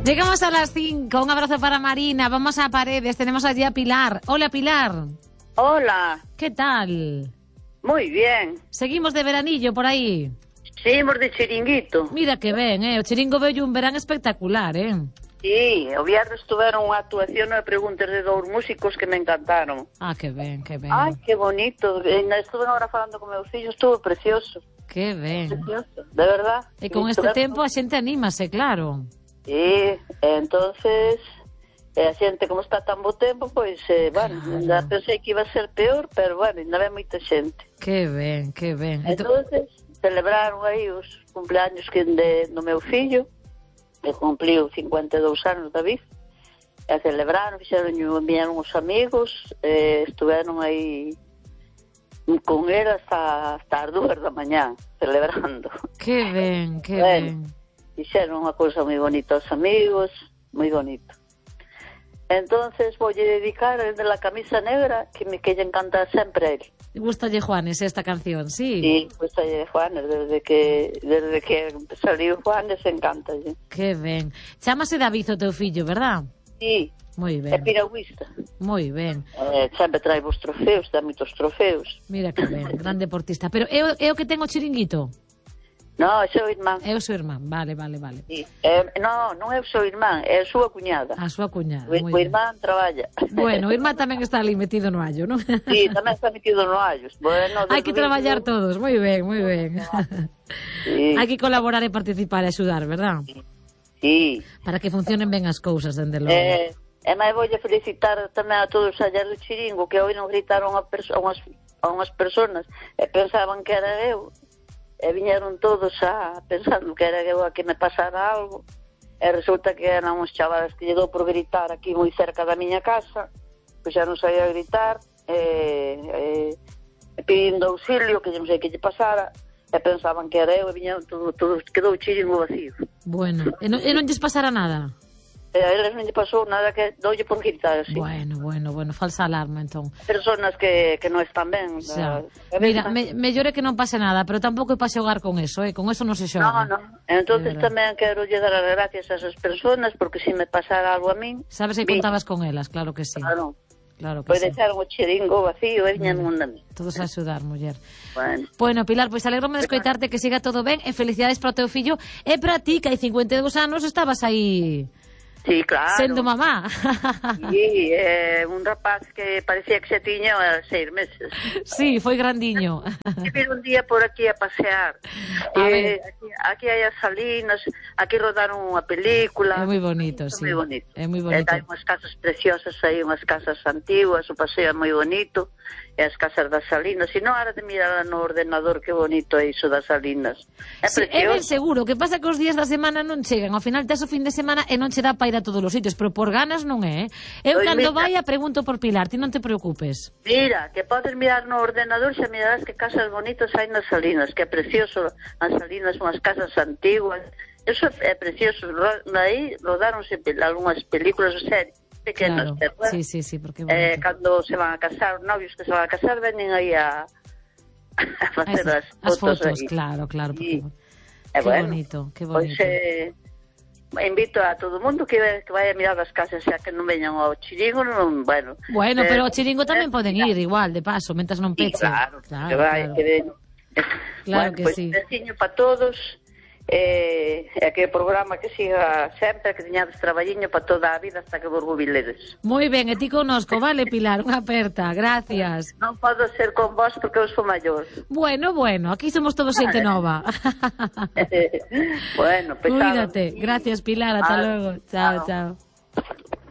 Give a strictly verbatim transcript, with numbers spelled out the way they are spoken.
Llegamos a las cinco, un abrazo para Marina, vamos a Paredes, tenemos allí a Pilar. Hola, Pilar. Hola. ¿Qué tal? Muy bien. Seguimos de veranillo por aí. Seguimos de chiringuito. Mira que ben, eh? O chiringo veu un verán espectacular, eh? Sí, o viernes tuveron unha actuación de preguntas de dous músicos que me encantaron. Ah, que ben, que ben. Ai, que bonito. Estuve agora falando con meu fillo, estuvo precioso. Que ben. Precioso, de verdad. E con este tempo a xente anímase, claro. Sí, entonces, a xente como está tan bo tempo, pois, eh, bueno, já pensei que iba a ser peor, pero bueno, ainda ve moita xente. Que ben, que ben. Entonces, celebraron aí os cumpleaños que de, do meu fillo, que cumpliu cincuenta e dous anos, David, e celebraron, fixeron, viñeron os amigos, eh, estuveron aí con él hasta, hasta as dúas da mañá, celebrando. Que ben, que bueno, ben. Fixeron unha cousa moi bonita aos amigos, moi bonito. Entonces, voulle dedicar el de la camisa negra, que me que lle encanta sempre a él. Gustalle Juanes esta canción, sí? Sí, gustalle Juanes, desde que desde que saliu Juanes, encanta. Que ben. Chámase David o teu fillo, verdad? Sí. Moi ben. É piragüista. Moi ben. Eh, sempre trae vos trofeos, dá moitos trofeos. Mira que ben, gran deportista. Pero é o, é o que ten o chiringuito? No, é o seu irmán. É o seu irmán, vale, vale, vale. Sí. Eh, no, non é o seu irmán, é a súa cuñada. A súa cuñada, O, moi o ben. irmán traballa. Bueno, o irmán tamén está ali metido no allo, non? Sí, tamén está metido no allos. Bueno, hai que traballar todos, moi ben, moi ben. Sí. Hai que colaborar e participar e axudar, verdad? Sí. Para que funcionen ben as cousas, dende logo. Eh, e máis voulle felicitar tamén a todos os allá do chiringo, que hoy non gritaron a, perso a, unhas, a unhas personas e pensaban que era eu. E viñeron todos a pensando que era eu a que me pasara algo, e resulta que eran uns chavales que lle dou por gritar aquí moi cerca da miña casa, pois xa non sabía gritar, e, e pedindo auxilio, que non sei que lle pasara, e pensaban que era eu, e viñeron todo, todo, quedou o chiringo vacío. Bueno, e non, e non lles pasara nada? E a eles non lle pasou nada, que doulle por gritar así. Bueno, bueno, bueno, falsa alarma, entón. Personas que, que non están ben. Xa. Da, Mira, me, mellor é que non pase nada, pero tampouco é para xogar con eso, eh? Con eso non se xoga. No, no. Entonces tamén quero lle dar as gracias a esas personas, porque se me pasara algo a min... Sabes que contabas con elas, claro que sí. Claro. Claro que Pois sí. deixaron o chiringo vacío e viñan un a mí. Todos a axudar, muller. Bueno. Bueno, Pilar, pois alegrome de escoitarte, que siga todo ben, e felicidades para o teu fillo, e para ti, que hai cincuenta e dous anos estabas aí... Sí, claro. Sendo mamá. Sí, eh, un rapaz que parecía que se tiña seis meses. Sí, foi grandiño. Que vir un día por aquí a pasear. A eh, ver. aquí, aquí hai as salinas, aquí rodaron unha película. É moi bonito, é sí. moi bonito. É moi E bonito. hai unhas casas preciosas aí, unhas casas antiguas, o paseo é moi bonito. E as casas das salinas, e non ara de mirar no ordenador que bonito é iso das salinas. É Sí, é ben precioso. seguro, que pasa que os días da semana non chegan, ao final tes o fin de semana e non che dá para ir a todos os sitios, pero por ganas non é, eh? Eu Pois cando mira. vai a pregunto por Pilar, ti non te preocupes. Mira, que podes mirar no ordenador, xa mirarás que casas bonitas hai nas salinas, que é precioso, as salinas son as casas antiguas, eso é precioso. Ro- aí rodaronse pel- algunhas películas o series pequenas, Claro, ¿verdad? sí, sí, sí, porque Eh, bonito. cando se van a casar, os novios que se van a casar, venen aí a, a facer As, as, as fotos, fotos, aí. claro, claro. Sí. Porque... E Qué bueno, bonito, qué Pois bonito. eh, invito a todo o mundo que, que vai a mirar as casas, xa que non veñan ao chiringo, non, bueno. Bueno, eh, pero o chiringo tamén eh, poden ir igual, de paso, mentas non Sí, peche. claro, claro, que vai, claro. que ven. Claro Bueno, que pues, sí. besiño para todos, eh, e que o programa que siga sempre, que teñades traballiño para toda a vida hasta que vos jubiledes. Moi ben, e ti connosco, vale, Pilar, unha aperta, gracias. Non podo ser con vos porque eu sou maior. Bueno, bueno, aquí somos todos xente nova. Bueno, pesado. Cuídate, gracias, Pilar, hasta Ah, luego. Chao, chao. chao.